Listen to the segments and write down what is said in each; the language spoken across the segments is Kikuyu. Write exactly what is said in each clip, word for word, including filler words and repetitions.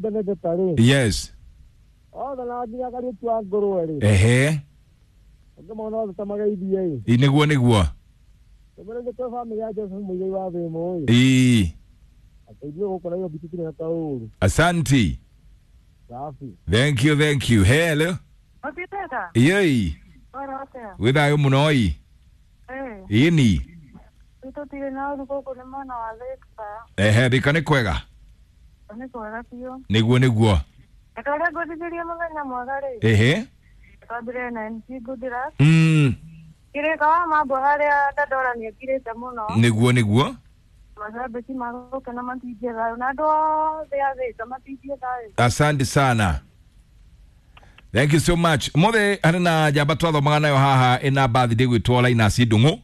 Benedetta rĩ. Yes. Othe na nginya Kariũki wa ngũrwe rĩ. Ehe. Ngĩmona othe ta mageithie ĩ. Ĩ, nĩguo nĩguo. Tũmĩre nĩ kwĩ bamĩrĩ ya Joseph Mũigai wa Thĩmũ ĩ. Ĩ. Atĩ ithuĩ gũkũ Nairobi tũtirĩ na kaũru. Asanti. Safi. Thank you, thank you. Hello. Ũtiteta? Yei. Ora atĩa? Wĩ thayũ mũno ĩ. Eh, Ĩni. tũtirĩ na ũru gũkũ nĩ mwena wa Thĩka. Ehe, Thĩka nĩ kwega. Nĩ kwega biũ. Nĩguo nĩguo. Reke ũrĩa ngũthikĩrie mũthenya mwega rĩ. Ehe. Twambire na M C Goodluck. Mm. Kĩrĩka wa mambo harĩa Dandora nĩekirĩte mũno. Nĩguo nĩguo. Macambĩki magũkena matingie thayũ na andũ othe a Thĩka matingie thayũ. Asante sana. Thank you so much. Mothe harĩ na njamba twathomaga nayo haha ĩna birthday gwĩtwo Linus Ndung'u.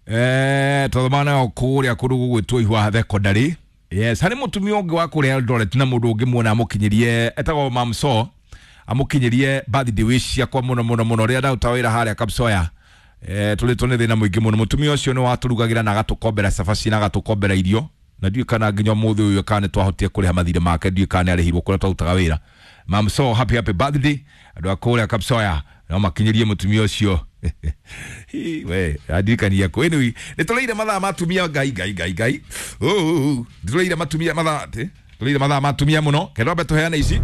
Eh, twathomaga nayo kũrĩa kũndũ gũgwĩtwo Ihwa Secondary. Yes, harĩ mũtumia ũngĩ wa kũrĩa Eldoret na mũndũ ũngĩ muona amũkinyĩrie etagwo Mamso amũkinyĩrie birthday wish ciakwa mũno mũno mũno rĩrĩa ndaruta wĩra harĩa Kapsoya. Eh, tũrĩtwo nĩ thĩna mũingĩ mũno. Mũtumia ũcio nĩ watũrugagĩra na agatũkombera cabaci na agatũkombera irio na ndiũĩ kana nginya ũmũthĩ ũyũ kana nĩ twahotire kũrĩha mathirĩ make, ndiũĩ kana nĩ arĩhirwo kũrĩa twarutaga wĩra. Mamso, happy happy birthday. Andũ a kũrĩa Kapsoya no makinyĩrie mũtumia ũcio. Hi, we andirikania kũ. Anyway, nĩ tũrĩire mathaa ma atumia ngai ngai ngai ngai. Oh, nĩ tũrĩire matumia mathaa atĩ tũrĩire mathaa ma atumia mũno. Kenda twambe tũheane ici.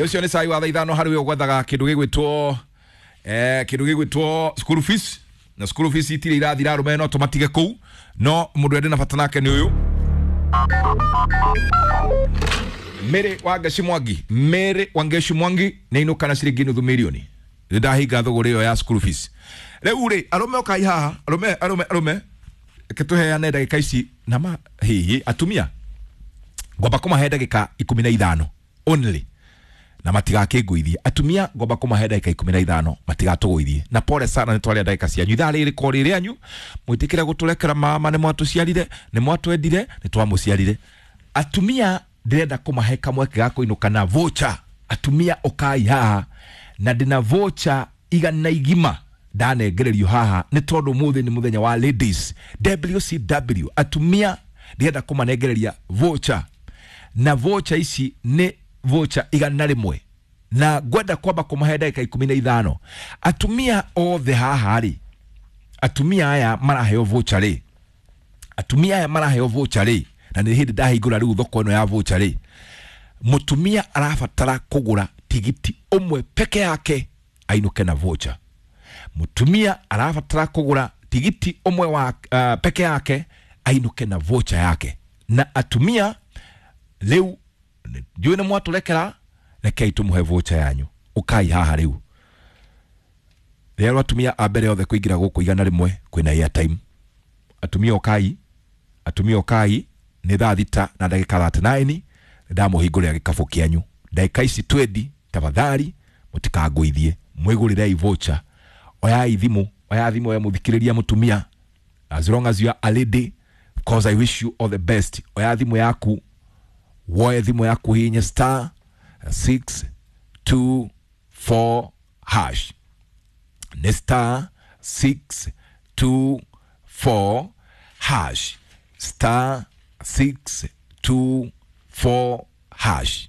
Ũcio nĩ cai wa thaa ithano harĩ we ũgwethaga kĩndũ gĩgwĩtwo eh, kĩndũ gĩgwĩtwo school fees na school fees itirĩ irathira arũme no tũmatige kũu no mũndũ ende na bata nake nĩ ũyũ Mary Wangeshi Mwangi. Mary Wangeshi Mwangi nĩ inũka na ciringi nuthu mirioni. Nĩ ndahinga thũgũrĩ ĩyo ya school fees. Rĩu rĩ arũme ũkai haha, arũme arũme arũme reke tũheane ndagĩka ici na ma hihi atumia ngwamba kũmahe ndagĩka ikũmi na ithano only na matigakĩngũithie. Atumia ngwamba kũmahe ndagĩka ikũmi na ithano matigatũgũithie. Na pole sana nĩ twarĩa ndagĩka cianyu. Ithaa rĩrĩ ko rĩ rĩanyu mwĩtĩkĩre gũtũrekera mama nĩ mwatũciarire nĩ mwatwendire nĩ twamũciarire. Atumia ndĩrenda kũmahe kamweke ga kũinũka na voucher. Atumia ũkai haha na ndĩna voucher igana igima ndanengererio haha nĩ tondũ ũmũthĩ nĩ mũthenya wa ladies W C W. Atumia ndĩrenda kũmanengereria voucher na voucher ici nĩ voucher igana rĩmwe na ngwenda kwamba kũmahe ndagĩka ikũmi na ithano. Atumia othe haha rĩ, atumia aya maraheo voucher rĩ, atumia aya maraheo voucher rĩ, na nĩ hĩndĩ ndahingũra rĩu thoko ĩno ya voucher rĩ, mũtumia arabatara kũgũra tigiti ũmwe peke yake ainũke na voucher. Mũtumia arabatara kũgũra tigiti ũmwe wa uh, peke yake ainũke na voucher yake. Na atumia rĩu ndiũĩ nĩ mwatũrekera, rekei tũmũhe voucher yanyu. Ũkai haha rĩu. Rĩrĩa atumia a mbere othe kũingĩra gũkũ igana rĩmwe kwĩna airtime. Atumia ũkai, atumia ũkai nĩ thaa thita na ndagĩka thirty nine ndamũhingũrĩra gĩkabũ kĩanyu. Ndagĩka ici twendi tafadhali mũtikangũithie, mwĩgũrĩrei voucher. Oyai thimũ, oya thimũ ya mũthikĩrĩria mũtumia. As long as you are a lady, because I wish you all the best. Oya thimũ yaku, woe thimũ yaku hinya star six two four hash. Nĩ star six two four hash. Star six two four hash.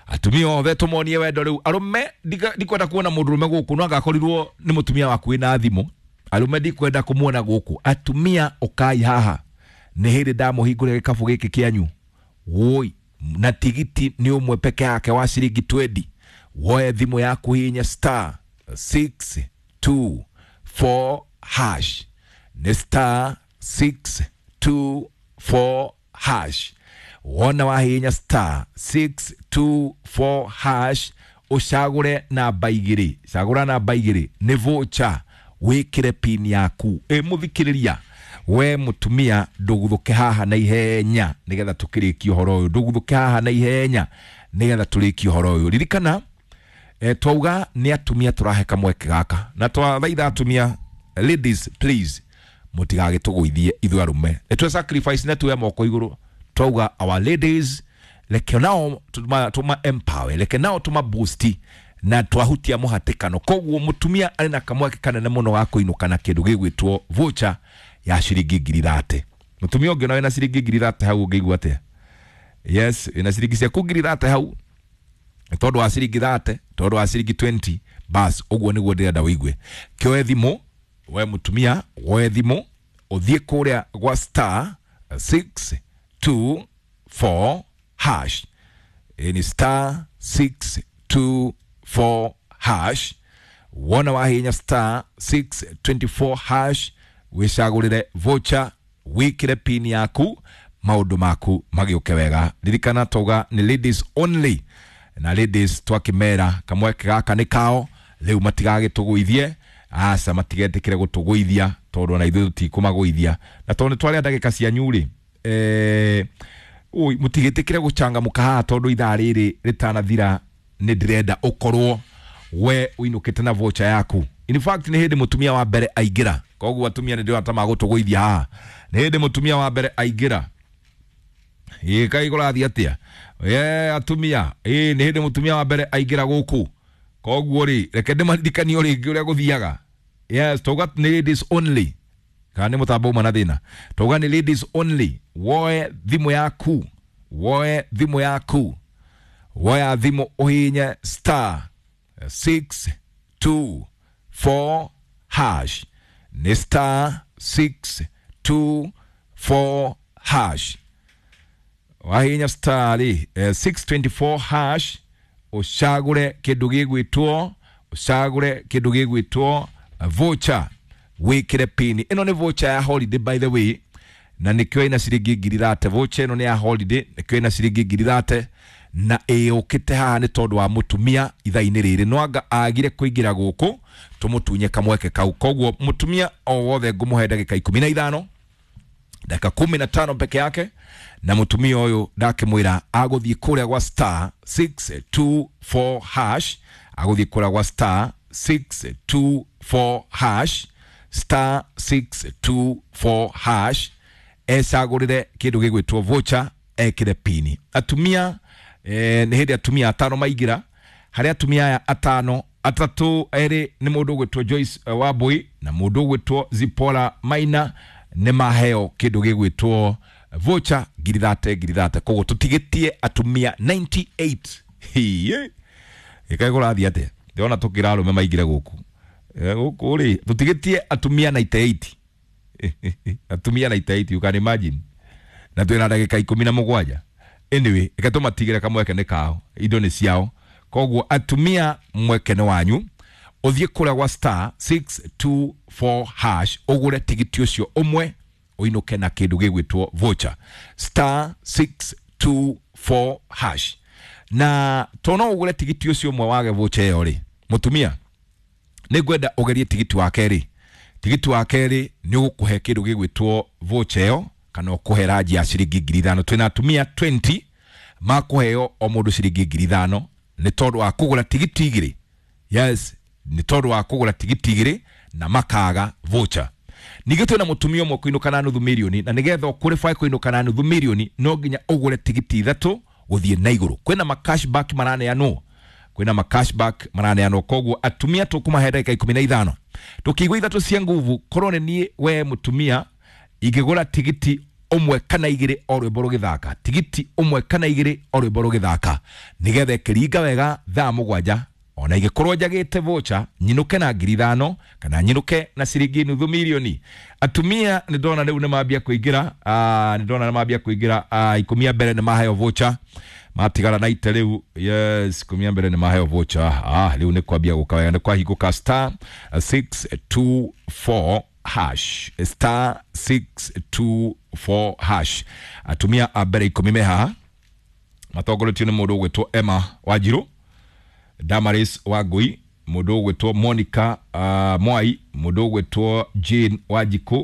Atumia othe tũmonie wendo rĩu. Arũme ndikwenda kuona mũndũrũme gũkũ no agakorirwo nĩ mũtumia waku wĩna thimũ. Arũme ndikwenda kũmuona gũkũ. Atumia ũkai haha nĩ hĩndĩ ndamũhingũrĩra gĩkabũ gĩkĩ kĩanyu. Woi, na tigiti nĩ ũmwe peke yake wa ciringi twendi. Woe thimũ yaku hinya star six two four hash. Nĩ star six two four hash. Wona wahinya star six two four hash ũcagũre namba igĩrĩ. Cagũra namba igĩrĩ nĩ voucher wĩkĩre pin yaku. Ĩ mũthikĩrĩria we mũtumia ndũguthũke haha na ihenya nĩgetha tũkĩrĩkie ũhoro ũyũ. Ndũguthũke haha na ihenya nĩgetha tũrĩkie ũhoro ũyũ. Ririkana eh, twauga nĩ atumia tũrahe kamweke gaka na twathaitha atumia, ladies please mũtigagĩtũgũithie ithuĩ arũme. Nĩ twe sacrifice na tuoe moko igũrũ. Twauga our ladies reke nao tuma, tuma empower, reke nao tuma boost na twahutia mũhatĩkano. Koguo mũtumia arĩ na kamweke kanene mũno ga kũinũka na kĩndũ gĩgwĩtwo voucher ya ciringi ngiri thate. Mutumia ũngĩ wĩna ciringi ngiri thate hau ũngĩigua atĩa? Yes, wĩna ciringi ciaku ngiri thate hau, tondũ wa ciringi thate, tondũ wa ciringi twenty, bas ũguo nĩguo ndĩrenda wĩigue. Kĩoe thimũ we mũtumia, woe thimũ ũthiĩ kũrĩa gwa star six two four hash. Ĩ ni star six two four hash. Wona wahinya star six twenty four hash, wĩcagũrĩre voucher, wĩkĩre pin yaku, maũndũ maku magĩũke wega. Ririkana tauga nĩ ladies only, na ladies twakĩmera kamweke gaka nĩ kao rĩu, matigagĩtũgũithie, aca, matigetĩkĩre gũtũgũithia tondũ ona ithuĩ tũtikũmagũithia, na tondũ nĩ twarĩa ndagĩka cianyu rĩ, eh, ui mũtigĩtĩkĩre gũcangamũka haha tondũ ithaa rĩrĩ rĩtanathira nĩ ndĩrenda ũkorwo we ũinũkĩte na voucher yaku. In fact, nĩ hĩndĩ mũtumia wa mbere aingĩra, koguo atumia nĩ ndĩrona ta magũtũgũithia haha. Nĩ hĩndĩ mũtumia wa mbere aingĩra. Ĩ kaĩ kũrathiĩ atĩa ye atumia? Ĩ nĩ hĩndĩ mũtumia wa mbere aingĩra gũkũ, koguo rĩ reke ndĩmaririkanie o rĩngĩ ũrĩa gũthiaga. Yes, tauga nĩ ladies only, kana nĩ mũtambo uma na thĩna. Tauga nĩ ladies only. Woe thimũ yaku, woe thimũ yaku, woya thimũ ũhinye star six two four hash. Nĩ star six two four hash. Wahinya star rĩ, eh, six twenty four hash, ũcagũre kĩndũ gĩgwĩtwo, ũcagũre kĩndũ gĩgwĩtwo voucher, wĩkĩre pin. Ĩno nĩ voucher ya holiday, by the way, na nĩkĩo ĩna ciringi ngiri thate. Voucher ĩno nĩ ya holiday, nĩkĩo ĩna ciringi ngiri thate, na ĩũkĩte haha nĩ tondũ wa mũtumia ithaa-inĩ rĩrĩ no anga agire kũingĩra gũkũ tũmũtunye kamweke kau. Koguo mũtumia o wothe ngũmũhe ndagĩka ikũmi na ithano, dakika kumi na tano peke yake, na mũtumia ũyũ ndakĩmwĩra agũthiĩ kũrĩa gwa star six two four hash, agũthiĩ kũrĩa gwa star six two four hash, star six two four hash, ecagũrĩre kĩndũ gĩgwĩtwo voucher, ekĩre pini. Atumia, eh, nĩ hĩndĩ atumia atano maingĩra. Harĩ atumia aya atano, atatũ erĩ nĩ mũndũ ũgwĩtwo Joyce eh, Wambui na mũndũ ũgwĩtwo Zipora Maina, nĩ maheo kĩndũ gĩgwĩtwo voucher ngiri thate ngiri thate. Koguo tũtigĩtie atumia ninety eight. Hiĩ, ĩkaĩ kũrathiĩ atĩa? Ndĩrona tũkĩra arũme maingĩre gũkũ. Eh, gũkũ rĩ tũtigĩtie atumia ninety eight, atumia ninety eight, you can imagine, na twĩna ndagĩka ikũmi na mũgwanja. Anyway, reke tũmatigĩre kamweke nĩ kao, indo nĩ ciao. Koguo atumia mweke nĩ wanyu, ũthiĩ kũrĩa gwa star six two four hash, ũgũre tigiti ũcio ũmwe, ũinũke na kĩndũ gĩgwĩtwo voucher, star six two four hash. Na to no ũgũre tigiti ũcio ũmwe wage voucher ĩyo rĩ, mũtumia nĩ ngwenda ũgerie tigiti wa kerĩ. Tigiti wa kerĩ nĩ ũgũkũhe kĩndũ gĩgwĩtwo voucher ĩyo, kana ũkũhe ranji ya ciringi ngiri ithano. Twĩna atumia twenty makũheo o mũndũ ciringi ngiri ithano nĩ tondũ wa kũgũra tigiti igĩrĩ. Yes, nĩ tondũ wa kũgũra tigiti igĩrĩ na makaga voucher. Ningĩ twĩna mũtumia ũmwe kũinũka na nuthu mirioni, na nĩgetha ũqualify kũinũka na nuthu mirioni no nginya ũgũre tigiti ithatũ gũthiĩ na igũrũ. Kwĩna ma cashback maraneanwo, kwĩna ma cashback maraneanwo. Koguo atumia tũkũmahe ndagĩka ikũmi na ithano tũkĩigua ithatũ cia nguvu. Korwo nĩ niĩ we mũtumia ingĩgũra tigiti ũmwe kana igĩrĩ o rwĩmbo rũgĩthaka, tigiti ũmwe kana igĩrĩ o rwĩmbo rũgĩthaka, nĩgetha ĩkĩringa wega thaa mũgwanja, ona ingĩkorwo njagĩte voucher nyinũke na ngiri ithano kana nyinũke na ciringi nuthu mirioni. Atumia nĩ ndona rĩu nĩ mambia kũingĩra, ah, nĩ ndona nĩ mambia kũingĩra. ah, ikũmi a mbere nĩ maheo voucher, matigara na ite rĩu. Yes, ikũmi a mbere nĩ maheo voucher. ah, rĩu nĩ kwambia gũka wega, nĩ kwahingũka. Star six two four hash, star six two four hash. Atumia a mbere ikũmi me haha matongoretio nĩ mũndũ ũgwĩtwo Emma Wanjiru, Damaris Wangui, mũndũ ũgwĩtwo Monica uh, Mwai, mũndũ ũgwĩtwo Jane Wanjikũ.